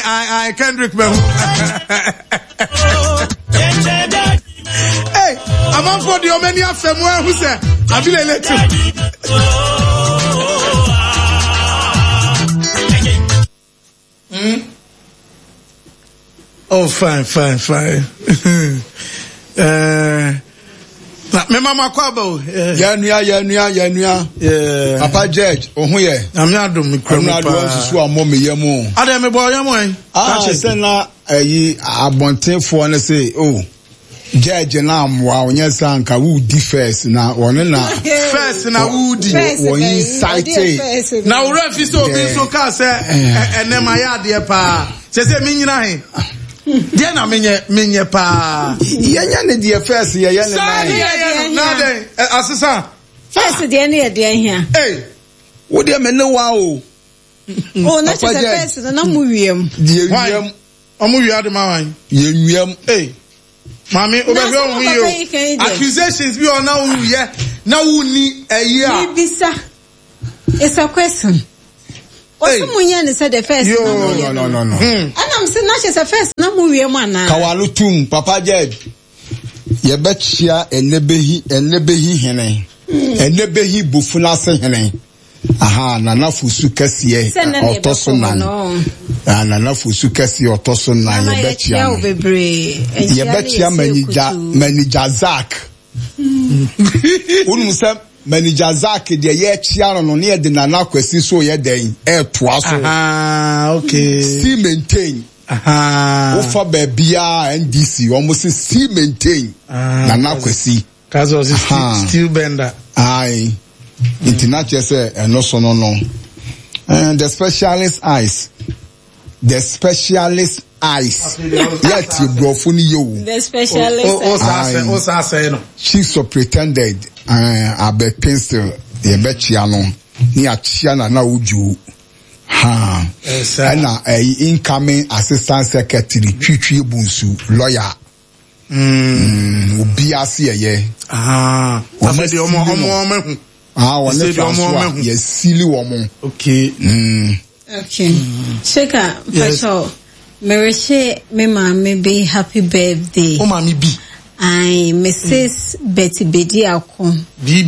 Ae ae Kendrick mahu. Hey, amanfoɔ deɛ ɔmo ani afɛ mu ahu sɛ abilele to. Mm? Oh, fine, fine, fine. uh, na mema mo akɔ aba o. Yɛnua yɛnua yɛnua. Papa Judge ohun yɛ. Nyame adum mi kura mu paa. Ɛnu aduwa nsusu amɔ mi yɛ mu. Adé mi bɔ ɔyɛ mu ɛ. Aa sɛ na ɛyi abɔntenfoɔ no se o. Oh. Judge na amoa ɔnyɛ sɛ anka wodi first na ɔno na. First na wodi. Wɔn incite. Na wura fi sɛ obi nso kaa sɛ ɛnɛ ma yɛ adeɛ paa kyɛ sɛ mi nyina he deɛ na menyɛ menyɛ paa. Yɛnyɛ ne deɛ first yɛyɛ ne nan. Saa ne yɛyɛ no na dɛn asesa. First deɛ ne yɛ deɛ hia. Ee. Wo deɛ me ne wa o. O na kyɛ sɛ first no na mo wiem. Deɛ wiem. Ɔmo wia de ma wan. Yɛ nwiam. Ei maame wobɛhwɛ wo ho yie o. Accusations bi wɔ na woyɛ na wonni ɛyi a. Mebisa. It's a question. Ɔsɛ mo nyɛ ne sɛ the first na mo yɛ no. No no no. Ɛna mo sɛ na kyɛ sɛ first na mo wie mu anaa. Kawalo tum papa judge. Yɛbɛkyia ɛnɛbɛhi ɛnɛbɛhi hene. Ɛnɛbɛhi bofunase hene. Aha, Nana Fosu kɛseɛ ɔtɔ so nan. Ah, Nana Fosu kɛseɛ ɔtɔ so nan yɛbɛkyia no. Yɛbɛkyia manigya manigya Zack. Wonim sɛ manigya Zack deɛ yɛkyia no no ne yɛde Nana Kwasi so yɛ dɛn ɛɛtoa so. Aha, okay. Still maintain. Aha. Wofa baabiara NDC wɔn se still maintain. Ah, Nana Kwasi. Ka sɛ ɔse steel bender. Aye. Nti na kyerɛ sɛ ɛno so no no. Eh, the specialist eyes. The specialist eyes. Yɛ tie borɔfo no yɛ o. The specialist eyes. O sa asɛe no. Chief superintendent eh, Abed Pencil yɛbɛkyia no ne yɛakyia na na wodwo. Ha. Ɛna ɛyi incoming assistant secretary Twitwie Bonsu lawyer. Mm. Obi ase ɛyɛ. Afei deɛ ɔmo ɔmo ɔmo ehu. Ah, wɔn ne Francois yɛ sili wɔn. Okay. Mm. Okay. Sheka, mpatsɔ, merehyɛ me maame bi happy birthday. O maame bi. Ayi, Mrs. Betty Bediako. Bi.